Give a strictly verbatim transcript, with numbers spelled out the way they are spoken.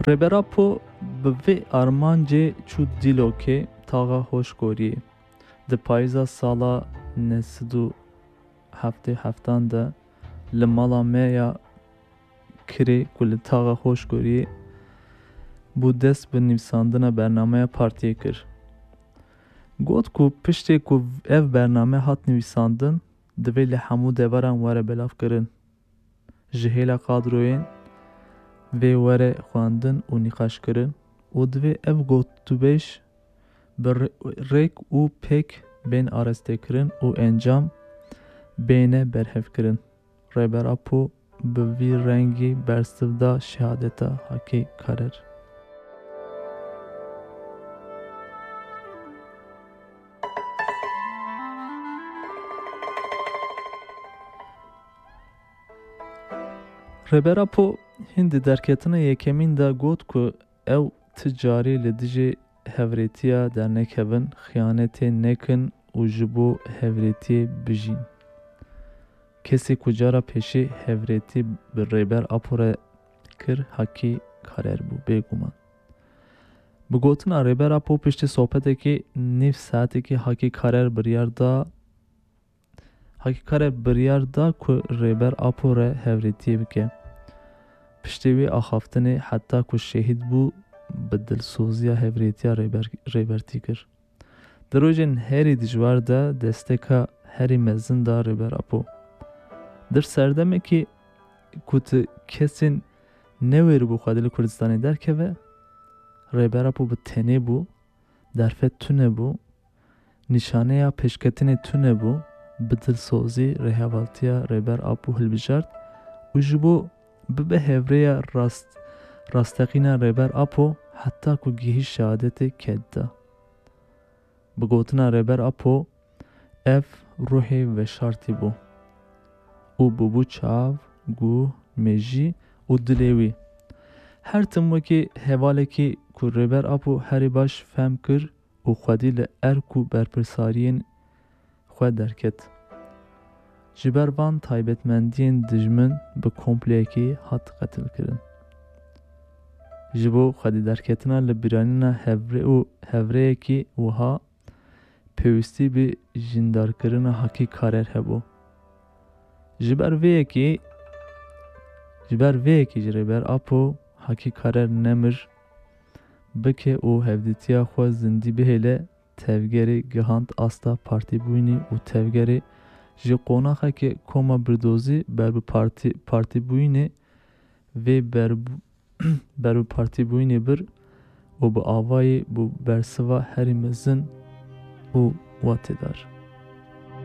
Rêber Apo bi vê armancê çû Dîlokê, taxa Hoşgoriyê. Di payîza sala neh sed û heftê heftan de li mala me ya kirê ku li taxa Hoşgoriyê bû, dest bi nivîsandina bernameya partiyê kir. Got ku piştê ku ev bername hat nivîsandin, divê li hemû deveran were belavkirin. Ji hêla kadroyên vê were xwendin û nîqaşkirin û divê ev gotûbêj bi rê-, rêk û pêk bên arestekirin û encam bêne berhevkirin. Rêber Apo bi vî rengî bersiv da şehadeta Hakî Karer. Rêber Apo hîn di derketina yekemîn de got ku ew ti carî li dijî hevrêtiya dernekevin, xiyanetê nekin û ji bo hevrêtiyê bijîn. Kesê ku cara pêşî hevrêtî bi Rêber Apo re kir, Hakî Karer bû, bêguman. Bi gotina Rêber Apo, piştî sohbetekî nîv saetekî Hakî Karer biryar da, Hakî Karer biryar da ku Rêber Apo re hevrêtiyê bike. Piştî wî axaftinê, heta ku şehîd bû, bi dilsoziya hevrêtiya Rêber-, Rêbertî kir. Di rojên herî dijwar de desteka herî mezin da Rêber Apo. Di serdemekî ku tu kesên newêribû xwedî li Kurdistanê derkeve, Rêber Apo bi tenê bû, derfet tune bû, nîşaneya pêşketinê tune bû, bi dilsozî rêhevaltiya Rêber Apo hilbijart û ji bo bibe hevreya rast-, rasteqîna Rêber Apo, heta ku gihîşt şehadetê, ked da. Bi gotina Rêber Apo, ev ruhê veşartî bû û bûbû çav, guh, mêjî û dilê wî. Her tim wekî hevalekî ku Rêber Apo herî baş fehm kir û xwedî li erk û berpirsariyên xwe derket. Ji ber van taybetmendiyên dijmin bi kompleyekî hat qetilkirin. Ji bo xwedî derketina li bîranîna hevre û hevreyekî wiha pêwîstî bi jîndarkirina Hakî Karer hebû. Ji ber vê yekê, ji ber vê yekê jî Rêber Apo Hakî Karer nemir, bike û hevdîtiya xwe zindî bihêle, tevgerê gihand asta partîbûyînê û tevgerê ji qonaxeke koma birdozî ber bi partî-, partîbûyînê vê ber-, ber bi partîbûyînê bir û bi avayî bû bersiva herî mezin û watêdar.